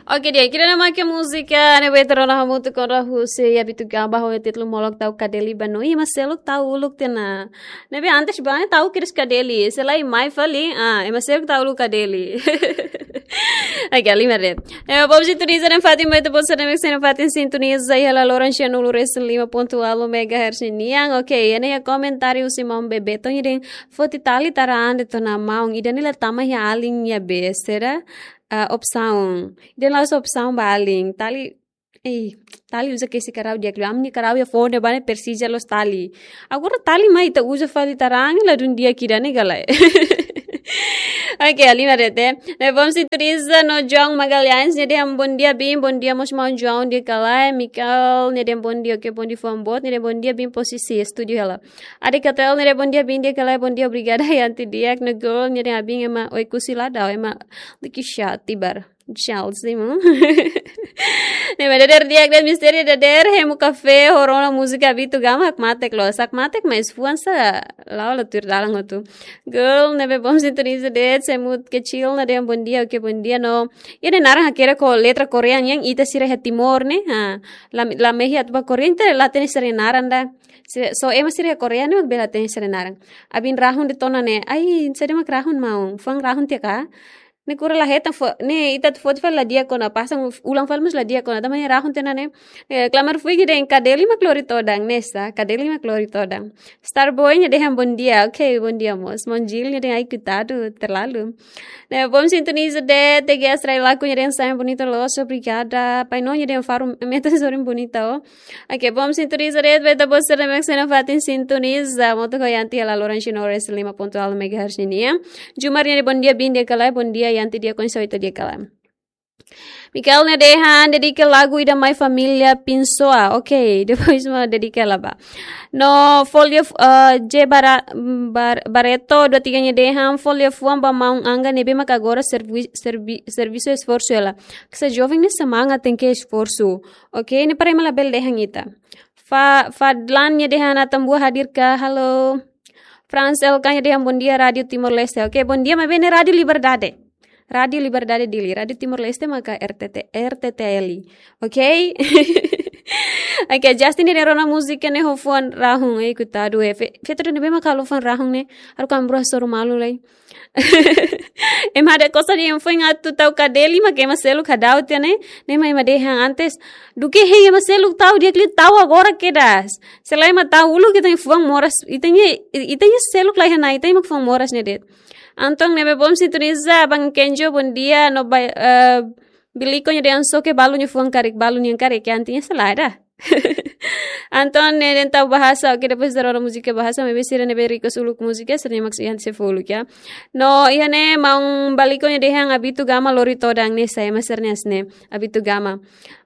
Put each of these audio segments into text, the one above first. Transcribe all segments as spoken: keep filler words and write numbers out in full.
Oke, di'ak, ida-ne'e mak múzika ne'ebé ita rona hamutuk ho Rahul husi Abitugama ho títulu Molok Ta'uk Kadeli ba. No, ema seluk ta'uk uluk tiha ona. Ne'ebé antes ba ne'e ta'uk kedas kadeli. Se lae mai fali, ah, ema seluk ta'uk uluk kadeli. Oke, halimar de'it. Ema bom sintoniza nafatin, mai ita-boot sira ne'ebé sei nafatin sintoniza iha laloran sianulu-resin-lima pontu ualu megahertz nian. Oke, iha ne'e iha komentáriu husi maun Bebeto nia dehan foti tali taraan de'it ona maun, ida-ne'e la tama iha alin nia be, sira, ah, opsaun. Ida-ne'e la'ós opsaun ba alin. Tali, eh, tali uza kesi karau di'ak liu. Ami-nia karau iha foun ne'ebá ne'e presiza loos tali. Agora tali mai ita uza fali taraan, ladún di'ak ida-ne'e ka lae. Oke, halimar de'it. Ne'e bom sintoniza no João Magalhães nia dehan bom dia Bin, bom dia mós maun João di'ak ka lae. Michael nia dehan bom dia, oke, bom dia fuan boot, nia dehan bom dia Bin posisi estúdiu hela. Ade Katel nia dehan bom dia Bin di'ak ka lae, bom dia, obrigada Yanti di'ak. No Girl nia dehan Bin ema Oekusi la da'o, ema liki sha tibar. Charles Simon. Ne'e mak dader di'ak de'it, mistéria dader, hemu kafé, ho rona múzika Abitugama, hakmatek loos. Hakmatek, mais fuan sá la'o la tuir dalan hotu. Girl ne'ebé bom sintoniza de'it, Semut Kecil nia dehan bom dia, oke, bom dia no. Iha ne'e naran hakerek ho letra Korea nian, ita sira iha Timor ne'e. Ha, la, la mehi atu ba Korea, ita la hatene sira-nia naran ida. Se, só ema sira iha Korea ne'e mak bele hatene sira-nia naran. Abin rahun de'it ona ne'e. Ai, saida mak rahun maun? Fuan rahun tiha ka? Ne'e kura la hetan fó, ne'e ita atu foti fali la di'ak ona, pasa ulang fali mós la di'ak ona, tanba ne'e rahun tiha ona ne'e. Eh, Klamar Fuik nia dehan kadeli mak lori todan, ne'e sá, kadeli mak lori todan. Starboy nia dehan bom dia, oke, bom dia mós. Maun Jil nia dehan ai koitadu, terlalu. Ne'e bom sintoniza de'it, T G S Rai Laku nia dehan sangat bonita loos, obrigada. Paino nia dehan faru metan sorin bonita, oh. Oke, bom sintoniza de'it, ba ita-boot sira ne'ebé sei nafatin sintoniza Hamutuk ho Yanti iha laloran sianulu-resin-lima pontu ualu megahertz nian. Jumar nia dehan bom dia Bin di'ak ka lae, bom dia Yanti di'ak, oinsá ita di'ak ka lae. Michael nia dehan dedika lagu ida mai família Pinsoa. Oke, depois mak dedika hela ba. No Folio, eh, J Bara-, Bar-, Barreto dua tiga nia dehan fó liafuan ba maun Angga ne'ebé mak agora servi-, servi-, servisu esforsu hela. Ksa joven ne'e semangat, tenke esforsu. Oke, ne'e para ema labele dehan ita. Fa-, Fadlan nia dehan Atambua hadir ka? Halo. Franz L K nia dehan bom dia Rádio Timor-Leste. Oke, bom dia, maibé ne'e Rádio Liberdade. Rádio Liberdade Dili, Rádio Timor-Leste maka R T T, R T T L. Oke? Oke, Justin nia dehan rona múzika ne'e ho fuan rahun, eh, koitadu, eh. Fe-, feto ne'ebé mak halo fuan rahun ne'e, haruka ami-rua hasoru malu lai. Ema hada kosa dehan foin atu ta'uk kadeli mak ema seluk hadau tiha ne'e, ne'e mak ema dehan antes. Duké hein ema seluk ta'uk di'ak liu, ta'uk agora kedas. Se lae ema ta'uk uluk ita-nia fuan moras, ita-nia, ita-nia seluk la iha ona, ita-nia mak fuan moras ne'e de'it. Anton ne'ebé bom sintoniza, Abang Kenjo, bom dia, no ba-, eh, Biliko nia dehan soke balu nia fuan karik, balu nian karik, ke antinya salah dah. Anton nia dehan ta'uk bahasa, oke, depois ita rona múzika bahasa, maibé sira ne'ebé request uluk múzika, sira-nia mak Yanti sei fó uluk, ya. No, iha ne'e maun Biliko nia dehan Abitugama lori todan, ne'e sá ema sira-nia asne'e, Abitugama.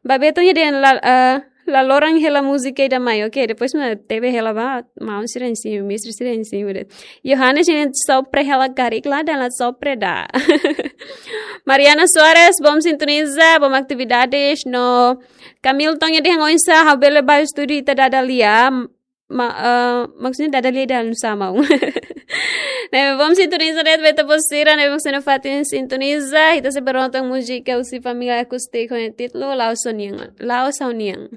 Ba Beto nia dehan la, eh, laloran hela múzika ida mai, oke, depois mak tebe hela ba, maun sira-nia simu, mestre sira-nia simu de'it. Yohanes nia dehan sopre hela karik, la dala sopre dah. Mariana Soares, bom sintoniza, bom atividades, no Camilton nia dehan oinsá ha'u bele ba estúdiu ita dada lia, ma-, eh, maksudnya dada lia dalam sama. Ne'e bom sintoniza de'it, ba ita-boot sira ne'ebé mak sei nafatin sintoniza, ita sei bá rona tan múzika husi família Acústico ho títulu La'ós Ha'u-nian, La'ós Ha'u-nian.